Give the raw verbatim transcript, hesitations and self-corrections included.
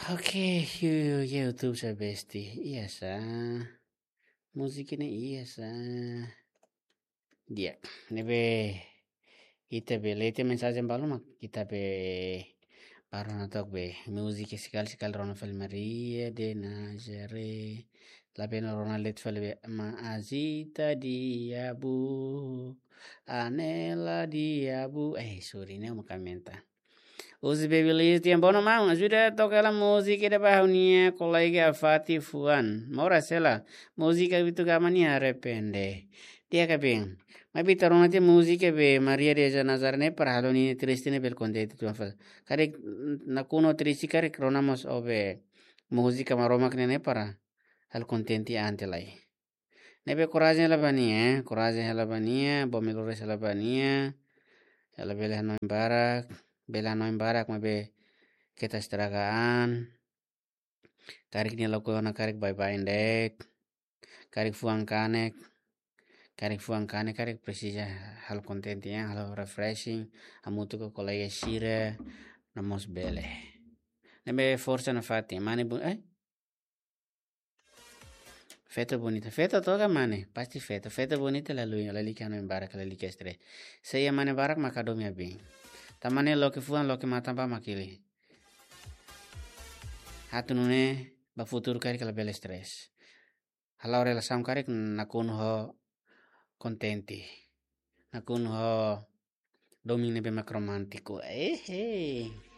Oke, yu, YouTube sa besti. Iya sa. Múzika ne'e iya sa. Di'ak. Ne'ebé ita be lee tiha mensajen balu mak ita be baru natok be. Múzika sekali-sekali rona fali Maria de Nazaré. Labele rona letra fali be ma azita diabu. Anela diabu. Eh, sorry, ne'e uma kamenta. Uzi Baby Liz, tiha bono maun, ajuda toka hela múzika ida ba ha'u-nia kolega Fati Fuan. Moras hela, múzika Vitu Gama nia Arrepende. Di'ak ka bin. Maibé ita rona tiha múzika be Maria de Nazaré ne'e para halo nia triste ne'e bele kontente tuan fal. Karik nakonu triste karik rona mós ó be múzika Maromak ne'e ne'e para halo kontente ante lai. Ne'ebé korajen hela ba nia, eh. Korajen hela ba nia, boot melhores hela ba nia. Ela bele hanoin barak, bele hanoin barak maibé keta estraga an. Karik nia lakohi ona karik baibain de'it. Karik fuan kanek. Karik fuan kanek, karik presiza halo kontente, eh, halo refreshing. Hamutuk ho kolega sira, no mós bele. Ne'ebé forsa nafatin, mane bu-, eh? Feto Bonita. Feto toka mane? Pasti feto. Feto Bonita lalika, lalika hanoin barak, lalika estrese. Se iha mane barak mak hadomi abin. Tan mane loke fuan, loke matan ba mak hili. Atu nune'e ba futuru karik labele estrese. Hala'o relasaun karik nakonu ho kontente. Nakonu ho domin ne'ebé mak romántiku. Eh, eh.